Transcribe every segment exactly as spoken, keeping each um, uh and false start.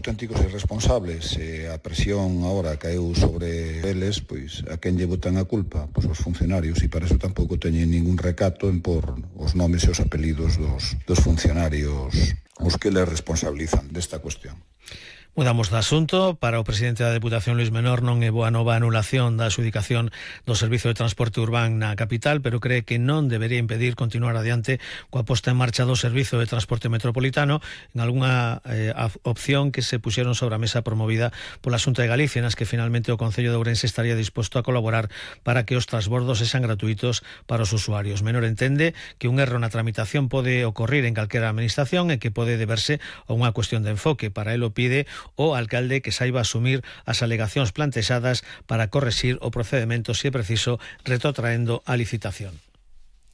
auténticos irresponsables, e a presión agora caeu sobre eles, pois a quen lle botan a culpa? Pois os funcionarios, e para eso tampouco teñen ningún recato en por os nomes e os apelidos dos, dos funcionarios os que les responsabilizan desta cuestión. Mudamos de asunto. Para o presidente da Deputación, Luís Menor, non é boa nova a anulación da adxudicación do servizo de transporte urbán na capital, pero cree que non debería impedir continuar adiante coa posta en marcha do servizo de transporte metropolitano en algunha eh, opción que se puxeron sobre a mesa promovida pola Xunta de Galicia, nas que finalmente o Concello de Ourense estaría disposto a colaborar para que os transbordos sexan gratuitos para os usuarios. Menor entende que un erro na tramitación pode ocorrir en calquera administración e que pode deberse a unha cuestión de enfoque. Para elo pide o alcalde que saiba asumir as alegacións plantexadas para correxir o procedemento, se é preciso, retrotraendo a licitación.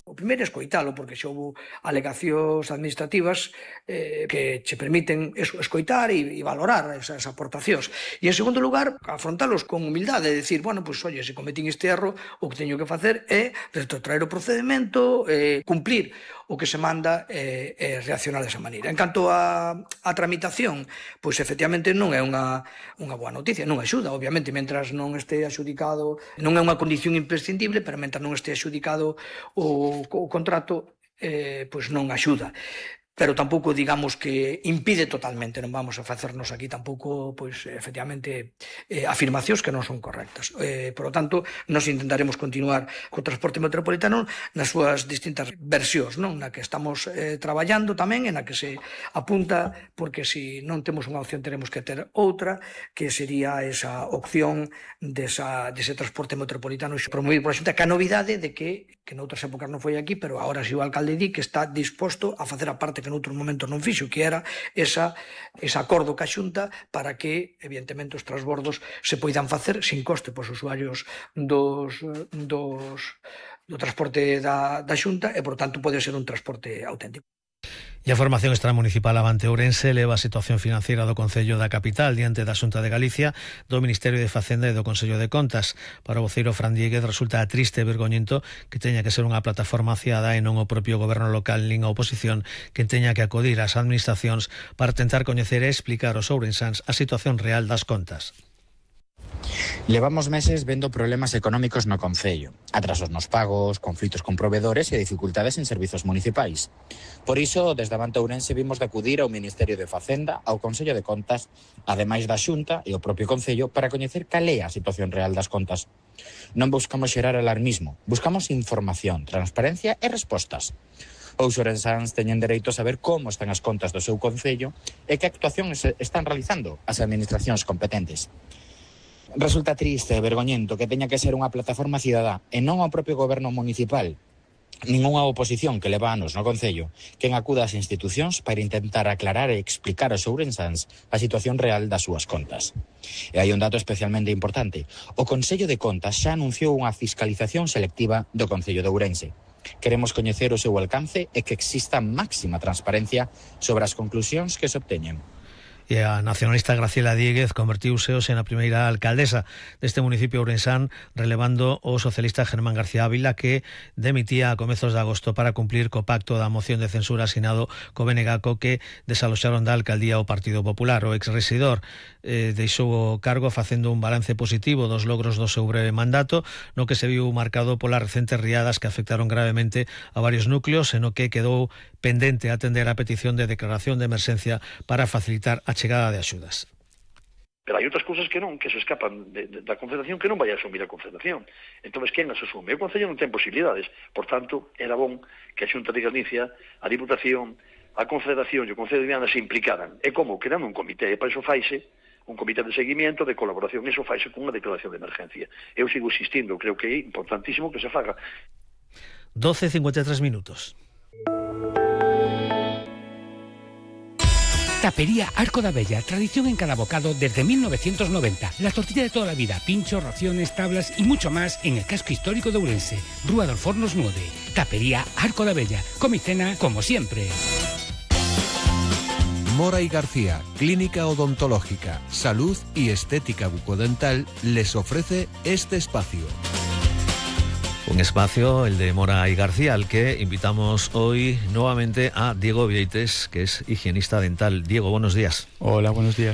O primeiro é escoitalo, porque xa houve alegacións administrativas eh, que che permiten eso, escoitar e, e valorar esas aportacións. E, en segundo lugar, afrontalos con humildade, de decir, bueno, pois, pues, oye, se cometín este erro, o que teño que facer é retrotraer o procedimento, eh, cumplir o que se manda e eh, eh, reaccionar desa maneira. En canto a, a tramitación, pois efectivamente non é unha, unha boa noticia, non axuda, obviamente, mentras non este axudicado, non é unha condición imprescindible, pero mentras non este axudicado o o contrato, eh, pois non axuda. Pero tampouco digamos que impide totalmente, non vamos a facernos aquí tampouco, pois, efectivamente, eh, afirmacións que non son correctas. Eh, por lo tanto, nos intentaremos continuar co transporte metropolitano nas súas distintas versións, non? Na que estamos eh, traballando tamén, en na que se apunta, porque se non temos unha opción teremos que ter outra, que sería esa opción desa, dese transporte metropolitano promovido por a Xunta, que a novidade de que, que noutras épocas non foi aquí, pero agora si o alcalde di que está disposto a facer a parte que noutros momentos non fixo, que era esa, ese acordo ca Xunta para que, evidentemente, os transbordos se poidan facer sin coste pos usuarios dos, dos, do transporte da, da Xunta e, por tanto, pode ser un transporte auténtico. E a formación extramunicipal Avante Ourense leva a situación financeira do Concello da capital diante da Xunta de Galicia, do Ministerio de Facenda e do Consello de Contas. Para o voceiro Fran Diéguez resulta triste e vergoñento que teña que ser unha plataforma aciada e non o propio goberno local nin a oposición que teña que acudir ás administracións para tentar coñecer e explicar aos ourensáns a situación real das contas. Levamos meses vendo problemas económicos no Concello, atrasos nos pagos, conflitos con provedores e dificultades en servizos municipais. Por iso, desde Avante Ourense vimos de acudir ao Ministerio de Facenda, ao Consello de Contas, ademais da Xunta e o propio Concello, para coñecer cal é a situación real das contas. Non buscamos xerar alarmismo, buscamos información, transparencia e respostas. Os ourensáns teñen dereito a saber como están as contas do seu Concello e que actuacións están realizando as administracións competentes. Resulta triste e vergoñento que teña que ser unha plataforma cidadá e non ao propio goberno municipal, ningunha oposición que leva anos no Concello, quen acuda ás institucións para intentar aclarar e explicar aos ourensáns a situación real das súas contas. E hai un dato especialmente importante. O Consello de Contas xa anunciou unha fiscalización selectiva do Concello de Ourense. Queremos coñecer o seu alcance e que exista máxima transparencia sobre as conclusións que se obteñen. E a nacionalista Graciela Diéguez convertiuse hoxe na primeira alcaldesa deste municipio ourensán, relevando o socialista Germán García Ávila, que demitía a comezos de agosto para cumplir co pacto da moción de censura asinado co B N G A C O que desaloxaron da alcaldía o Partido Popular. O exresidor eh, deixou o cargo facendo un balance positivo dos logros do seu breve mandato, no que se viu marcado polas recentes riadas que afectaron gravemente a varios núcleos, e no que quedou pendente atender a petición de declaración de emerxencia para facilitar a chegada de axudas. Pero hai outras cousas que non, que se escapan de, de, da Confederación, que non vai a asumir a Confederación. Entón, quen as asume? O Concello non ten posibilidades. Por tanto, era bon que a Xunta de Galicia, a Diputación, a Confederación e o Concello de Viana se implicaran. E como? Creando un comité. E para iso faise un comité de seguimiento, de colaboración. Iso faise con unha declaración de emergencia. Eu sigo insistindo, creo que é importantísimo que se faga. doce e cincuenta e tres minutos. Tapería Arco da Bella, tradición en cada bocado desde mil novecientos noventa. La tortilla de toda la vida, pinchos, raciones, tablas y mucho más en el casco histórico de Ourense. Rúa dos Fornos nueve. Tapería Arco da Bella. Come y cena como siempre. Mora y García, clínica odontológica, salud y estética bucodental, les ofrece este espacio. Un espacio, el de Mora y García, al que invitamos hoy nuevamente a Diego Vieites, que es higienista dental. Diego, buenos días. Hola, buenos días.